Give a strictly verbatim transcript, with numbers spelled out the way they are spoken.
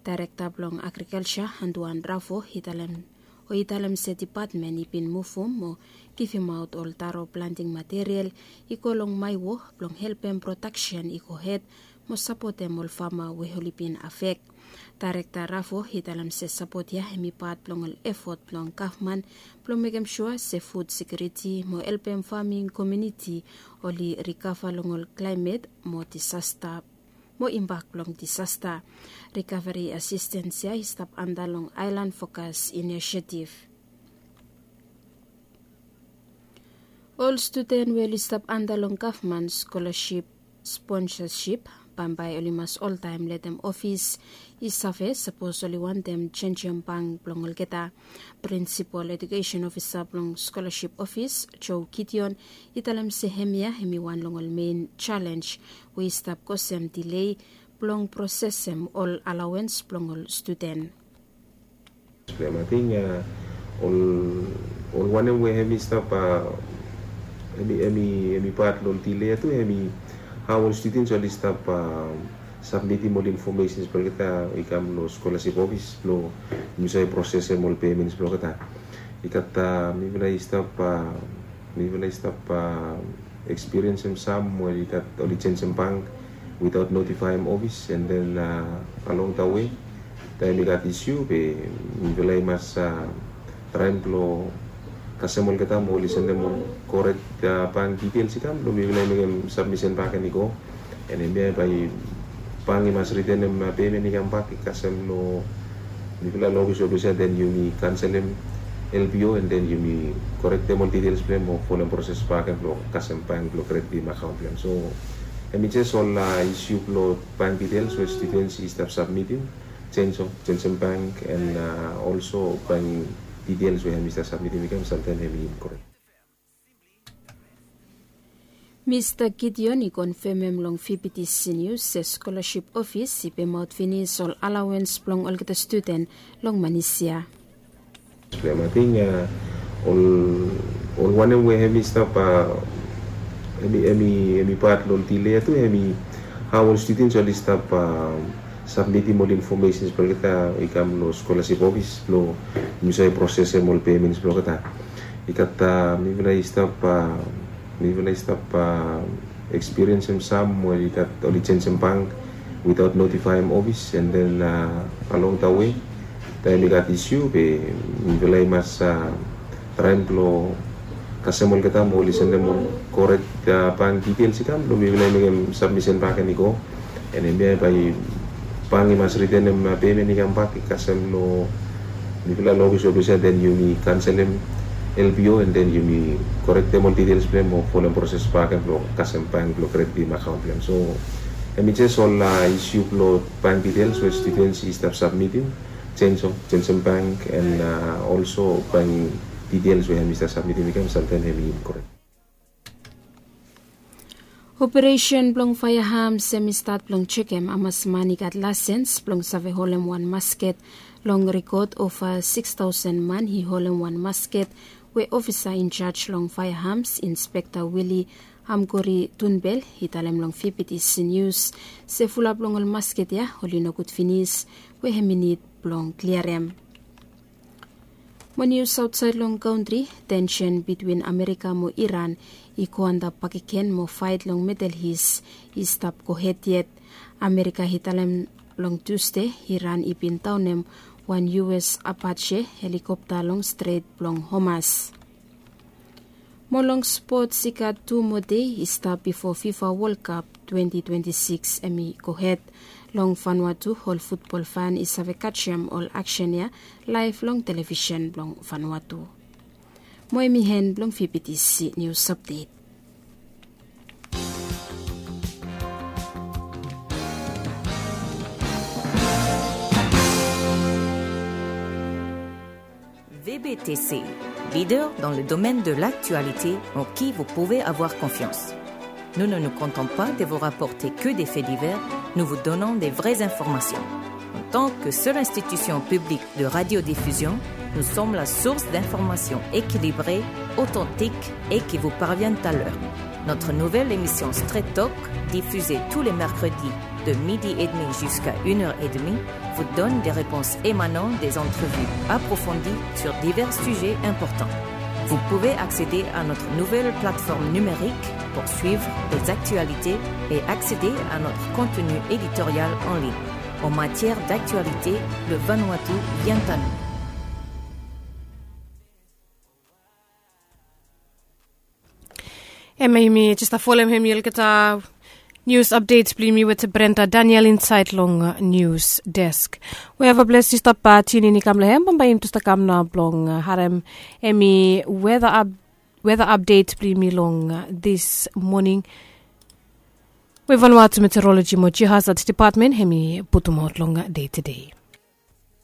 Dairekta blong agrikalja Anduan Rafo i talem o i talem se depatmen i bin muvum mo givimaot ol taro planting material i go long Maiwo blong helpem prodaksen i gohed mo sapotem ol fama we oli bin afek. Dairekta Rafo i talem se sapot ya hem i pat blong ol efot blong gavman blong mekem sua se fud sekiuriti mo helpem faming komuniti oli rikava long ol klaemet mo disasta mo imbak blong disasta. Rikaveri asistens ya i stap anda long Aelan Fokas Inisietiv. Ol studen we oli stap anda long gavman skolaship sponsasip bambae oli mas oltaem letem ofis i save sapos oli wantem jenjem bank blong olgeta. Prinsipol ejukesen ofisa blong skolaship ofis Joe Gideon i talem se hemia hem i wan long ol mein jalenj we i stap kosem dilei blong prosesem ol alawens blong ol studen. Blem ating ol ol wanem we hem i stap hem i hem i hem i pat long dile ya tu hem i hao ol studens oli stap sabmitim ol infomesens blong olgeta i kam long skolaship ofis blong mi save prosesem ol pemens blong olgeta. I gat mifala i stap mifala i stap ekspiriensem sam we i gat oli jenjem bank witaot notifaem ofis en den along da we taem i gat isiu be mifala i mas traem blong kasem olgeta mo oli sendem ol korek bank ditels i kam blong mifala i mekem sabmisen bak en i go. En hemia bae bank i mas ritenem pemen i kambak i kasem long mifala long ofis we olsem ya den yumi kanselem L P O en den yumi korektem ol ditels blong hem o folem proses bakegen blong kasem bank blong kreditim akaon blong hem. So hem i jes ol isiu blong bank ditels we studens i stap sabmitim, jenjem bank en olso bank ditels we hem i stap sabmitim i kam samtaem hem i inkorek. Mista Gideon i konfemem long V B T C News se skolaship ofis i pemaot finis ol alawens blong olgeta studen long manis ya. Blem ating ol ol wanem we hem i stap hem i hem i hem i pat long dile ya tu hem i hao ol studens oli stap sabmitim ol infomesens blong olgeta i kam long skolaship ofis blong mi save prosesem ol pemens blong olgeta. I gat mifala i stap mifala i stap ekspiriensem sam we i gat oli jenjem bank witaot notifaem ofis en den along da we taem i gat isiu be mifala i mas traem blong kasem olgeta mo oli sendem ol korek bank ditels i kam blong mifala i mekem sabmisen bakegen i go. En hemia bae bank i mas ritenem pemen i kambak i kasem long mifala long ofis we olsem ya den yumi kanselem L P O en den yumi korektem ol ditels blong hem o folem proses bakegen blong kasem bank blong kreditim akaon blong hem. So hem i jes ol isiu blong bank ditels we studens i stap sabmitim, jenjem jenjem bank en olso bank ditels we hem i stap sabmitim i kam samtaem hem i inkorek. Operesen blong faea hams hem i stat blong jekem hamas man i gat lasens blong save holem wan masket. Long rikot ova sikstaosen man i holem wan masket we ofisa injaj long faea hams Inspekta Wili Hamgori Tunbel i talem long V B T C News se fulap long ol masket ya oli nogud finis we hem i nid blong kliarem. Mo nius aotsaed long kantri, tensen bitwin Amerika mo Iran i go antap bakegen mo faet long Midel Is i stap gohed yet. Amerika i talem long Tusde Iran i bin daonem wan U S Apache helikopta long Stret blong Hormuz. Mo long spots i gat tu moa dei i stap bifo FIFA World Cup twenti twenti sikis hem i gohed. Long Vanuatu ol futbol fan i save kajem ol aksen ya laef long televisen blong Vanuatu. Mo hem i en blong V B T C News Update. V B T C, leader dans le domaine de l'actualité en qui vous pouvez avoir confiance. Nous ne nous contentons pas de vous rapporter que des faits divers, nous vous donnons des vraies informations. En tant que seule institution publique de radiodiffusion, nous sommes la source d'informations équilibrées, authentiques et qui vous parviennent à l'heure. Notre nouvelle émission Straight Talk, diffusée tous les mercredis de midi et demi jusqu'à une heure et demie, vous donne des réponses émanant des entrevues approfondies sur divers sujets importants. Vous pouvez accéder à notre nouvelle plateforme numérique pour suivre les actualités et accéder à notre contenu éditorial en ligne. En matière d'actualité, le Vanuatu vient à nous. Em yumi jesta folem hem yelketa news updates blong yumi wete Brenda Daniel inside long news desk. Wherever place you stop uh, tune in i kam long hem bamba yumi tusta kam na blong uh, harem emi weather up weather update blong yumi long uh, this morning. We Vanuatu Meteorology mo Geohazard Department hemi putum out long uh, day to day.